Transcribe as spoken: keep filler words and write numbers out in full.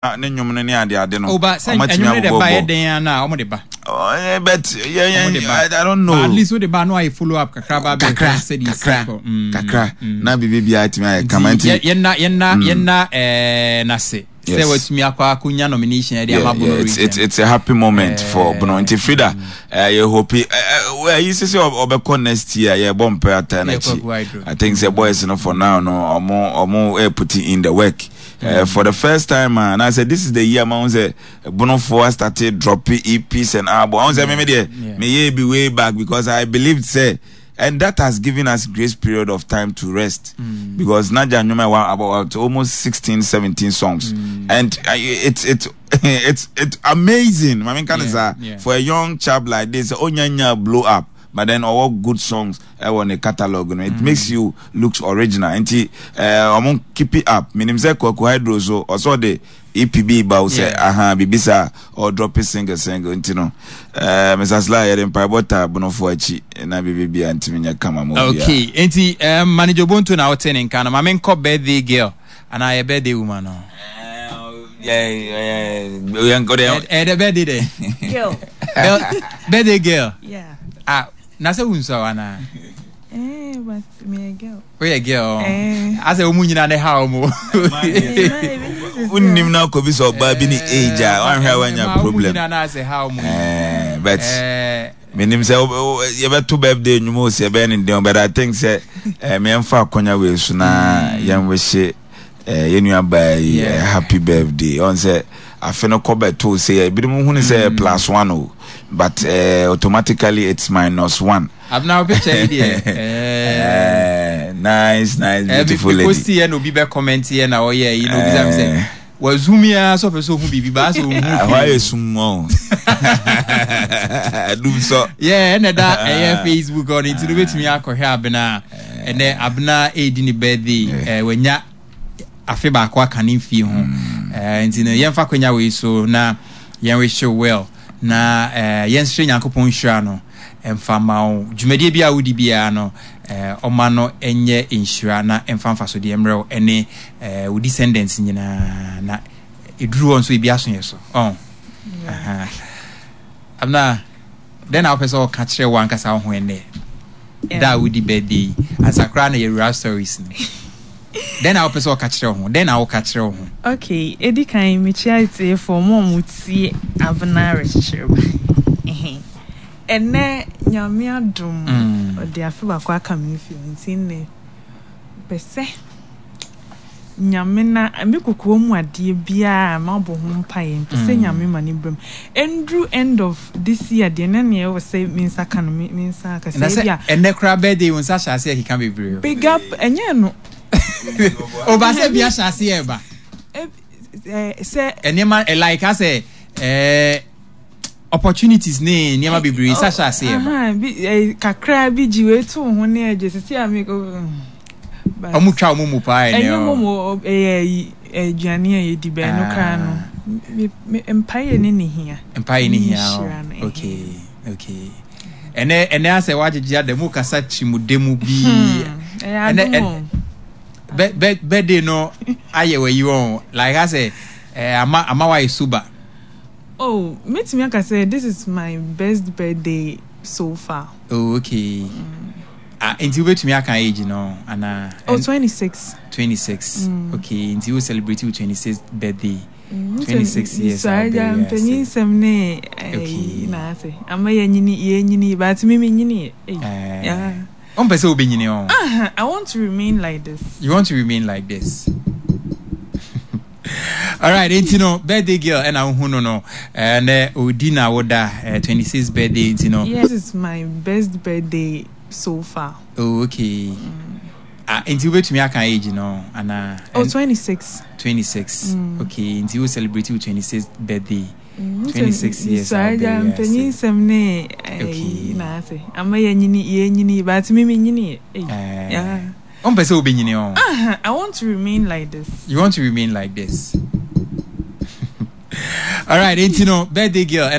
Ne nnwom no ne ade ade no. Oba sɛ ɛnwom no de ba yɛ den ana ɔmo de ba. Oh, eh, but yeah, yeah, I, I don't know. But at least wo de ba no ayɛ follow up kakra ba bɛ kakra kakra mm, kakra mm. Na biribi biara tumi ayɛ kama nti. Yɛnna yɛnna yɛnna ɛɛ n'ase sɛ watumi akɔ akɔnya nomination ɛde ama Bono region. It's, it's, it's a happy moment uh, for Bono. Nti Frida, uh, yɛ hope ɛyi sɛ sɛ ɔbɛkɔ next year, yɛ bɔ mpɛ ata n'akyi. I think sɛ boys no, for now no, ɔmo ɔmo ɛ putting in the work. Uh, for the first time, uh, and I said this is the year man say Bonofoɔ started dropping E Ps and album. I say me me me yeah be way back because I believed say, and that has given us grace period of time to rest mm. because Naja Nyuma about almost sixteen, seventeen songs mm. and uh, it's it's it's it's amazing. I mean, can yeah, yeah. for a young chap like this, onyanya blow up, but then all good songs ɛwɔ ne catalog no, it mm. makes you look original. Nti ɔmo uh, keep it up. Minim sɛ Kwaku Hydro so ɔsɔ de E P bi ba wo sɛ aha biribi saa, ɔdrop single single. Nti no uh, Mister Sly, yɛde mpaebɔ ta Bonofoɔ akyi na biribi bia ntumi nyɛ kama ma. Okay, nti um, manager Bonto na wote ne nka no. Ma menkɔ birthday girl anaa yɛ birthday woman no. Ɛyɛ dɛ birthday dɛ. Girl. Birthday girl. Yeah. Ah, na sɛ wonsua wo anaa? Eh, but me a girl. Woyɛ girl. Eh. Asɛ wo mu nyina ne ha wo mu. Wonnim na akɔbi sɛ ɔbaa bi ne age a wanhwɛ a wanya problem. Nyina na asɛ ha wo mu. Eh, but menim sɛ yɛbɛto birthday nnwuma o, sɛ yɛbɛyɛ ne den, but I think sɛ eh, meɛmfa akɔnya wei so na yɛnwehye yɛn nua baa yi happy birthday. Ɔn sɛ afe no kɔ bɛto sɛ ebinom hu ne sɛ plus one o, but uh, automatically it's minus one. Abena, wo picture yi deɛ. Nice, nice, beautiful lady. Post yɛ na obi bɛ comment yɛ na ɔyɛ yi na obi sɛ sɛ wazum ya sɛ ɔpɛ sɛ ɔhu biribi baa sɛ ɔhu. Ɛhɔ ayɛ sum ɔ dum sɔ. Yeah, ɛna da ɛyɛ Facebook ɔno nti no wobɛtumi akɔhwɛ Abena. Ɛnɛ Abena ɛredi ne birthday, ɛɛ wanya afe baako aka ne mfie ho, ɛɛ nti no yɛmfa kwanya wei so na yɛn wish you well na ɛɛ yɛnsrɛ Nyankopɔn nhyira no ɛmfa ma wo. Dwumadie bi a wodi biara no, ɛɛ ɔma no ɛnyɛ nhyira na ɛmfa mfasodeɛ mmerɛw ɛne ɛɛ wo descendants nyinaa na ɛduru hɔ nso ebi aso yɛ so ɔn. Abena, dɛn na wopɛ sɛ ɔka kyerɛ wo ankasa wo ho ɛnnɛ da a wodi birthday yi ansa koraa na yɛwura stories no? Dɛn na wopɛ sɛ ɔka kyerɛ wo ho? Dɛn na woka kyerɛ wo ho? Okay, edi kan, mekyia etiefoɔ mo a mo tie Abena Rekyekyere Ba. Ɛnɛ Nyame adom, ɔde afe baako aka me mfie, nti nnɛ pɛ sɛ Nyame na me kokoa mu adeɛ biara mabɔ ho mpaeɛ mpɛ sɛ Nyame ma ne bam ɛnduru end of this year deɛ, na neɛ ɛwɔ sɛ me nsa ka no, me nsa aka. Sɛ ebi a ɛnɛ koraa birthday, wo nsa hyɛ aseɛ keka bebree. Big up, ɛnyɛ no. Ɔba sɛ bi ahyɛ aseɛ ɛba. Sɛ nneɛma like asɛ ɛɛ opportunities ne nneɛma bebree sa hyɛ aseɛ ba. Kakra bi gye wei to ho ne agye sisi a mi. Ɔmo twa ɔmo mu paa. Ɛnɛ ɛnyɛ mo mu, ɛyɛ aduane a yɛdi bɛn no koraa no, mpaeɛ ne ne hia. Mpaeɛ ne hia. okay okay ɛnɛ ɛnɛ asɛ wagyegye ada mu kasa kyirimude mu bi. Ɛnɛ birthday no ayɛ wɔ yi wɔn like asɛ ɛɛ ama ama wayɛ sober. Oh, metumi aka sɛ this is my best birthday so far. Oh, okay. Mm. Ah, nti wobɛtumi aka age no anaa? Oh, twenty-six. twenty-six. Mm. Okay, nti wo celebrate wo twenty-sixth birthday. Mm, twenty-six years. So agya mpanyin nsɛm ne ɛyi na ase ama yɛnyini yɛnyini, but me menyini. Yeah. Ɔmpɛ sɛ wobɛnyini ɔ. I want to remain like this. You want to remain like this. Alright, nti no birthday girl ɛna wohu no no ɛnɛ odi na woda twenty-six birthday nti no. Yes, this is my best birthday so far. Oh, okay. Mm. Ah, nti wobɛtumi aka age no anaa? Oh, twenty-six. twenty-six. Mm. Okay, nti wo celebrate wo twenty-sixth birthday. Mm, twenty-six years. So agya mpanyin nsɛm ne ɛyi na ase ama yɛnyini yɛnyini, but me menyini. Yeah. Ɔmpɛ sɛ wobɛnyini ɔ. I want to remain like this. You want to remain like this. Alright, nti no birthday girl ɛna